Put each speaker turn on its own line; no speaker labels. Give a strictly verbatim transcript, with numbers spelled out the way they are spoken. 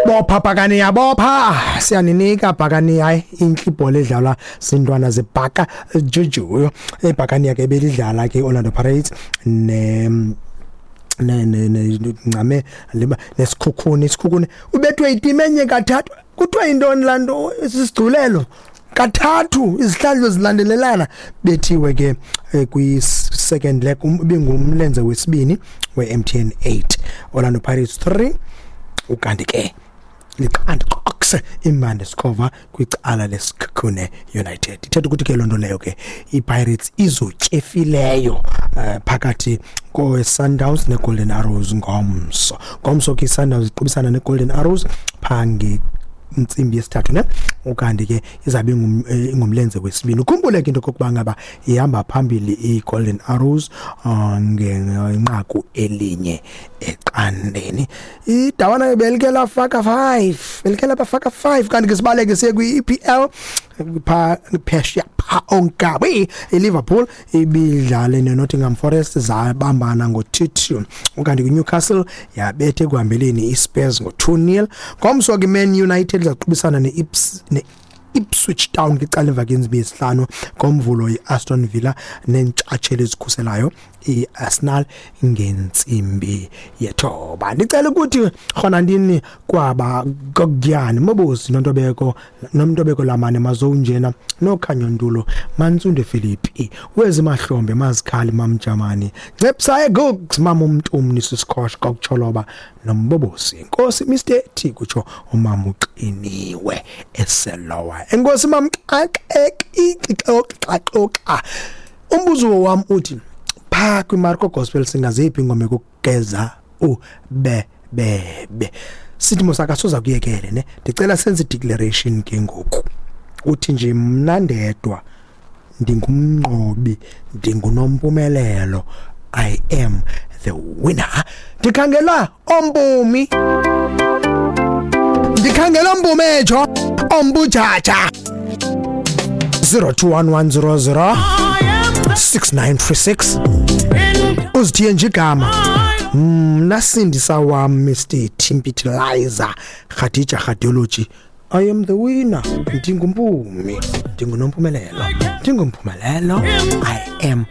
Bopha Bhakaniya, bopha, siyaninika Bhakaniya. Hayi, intle ibhola edlalwa zintwana zebhaka juju. Ebhakaniya ke belidlala ke Orlando Pirates ne ne ne ncame liba neSikhukhune. Isikhukhune ubethwe iteam enye kathathu. Kuthiwa yintoni laa nto? Sisigculelo kathathu, izihlandlo zilandelelana bethiwe ke kwi-second leg, ibingumlenze wesibini we-M T N eight. Orlando Pirates three, ukanti ke liqanda qoxe imande sikhova kwicala leSikhukhune United. Ithetha ukuthi ke loo nto leyo ke iPirates izotyefileyo uh, phakathi kowe-Sundowns neGolden Arrows ngomso. Ngomso ke iSundowns iqubisana neGolden Arrows phaa ntsimbi yesithathu ne, ukanti ke izabe ingumlenze wesibini. Ukhumbule ke into kokuba ngaba ihamba phambili iGolden Arrows uh, ngenqaku elinye eqandeni. Idawana belike lafaka five, belike labafaka five. Kanti ke sibaleke siye kwi-E P L pha phesheya pha onkabi. iLiverpool ibidlale neNottingham Forest, zabambana ngo-two two. Ukanti kwiNewcastle yabethe ekuhambeleni iSpurs ngo-two nil. Ngomso ke Man United izaqubisana ne-Ips ne Ipswich Town kwicala emva kwentsimbi yesihlanu. Ngomvulo i-Aston Villa neentshatsheli ezikhuselayo i-Arsenal ngentsimbi yethoba. Ndicela ukuthi rhona ndini kwaba gogyani Mobosi noNtobeko noMntobeko lamane mazowunjena noKhanyo Ntulo Mantsunde Philippi wezimahlombe mazikhali mamjamani Ncebsaye Googs mama umntumni sisikhosh kokucholoba nombobosi Nkosi Mister T, kutsho umama uqiniwe eselowa. Enkosi mamxaxexa. Umbuzo wam uthi phaa kwiMarco Gospel singaziphi ingoma ekugeza ubebebe? Sithi mosaka soza kuyekele ne. Ndicela senze i-declaration ke ngoku, uthi nje mna ndedwa ndingumnqobi, ndingunompumelelo, I am the winner. Ndikhangela ompumi, ndikhangela ompumejo ombujaja zero two one one zero zero six nine three six. Uzithiye nje igama mna sindisa wam Mister Timpitilizer Khadija Radiology. I am the winner, ndingumpumi, ndingunompumelelo, ndingumphumelelo, I am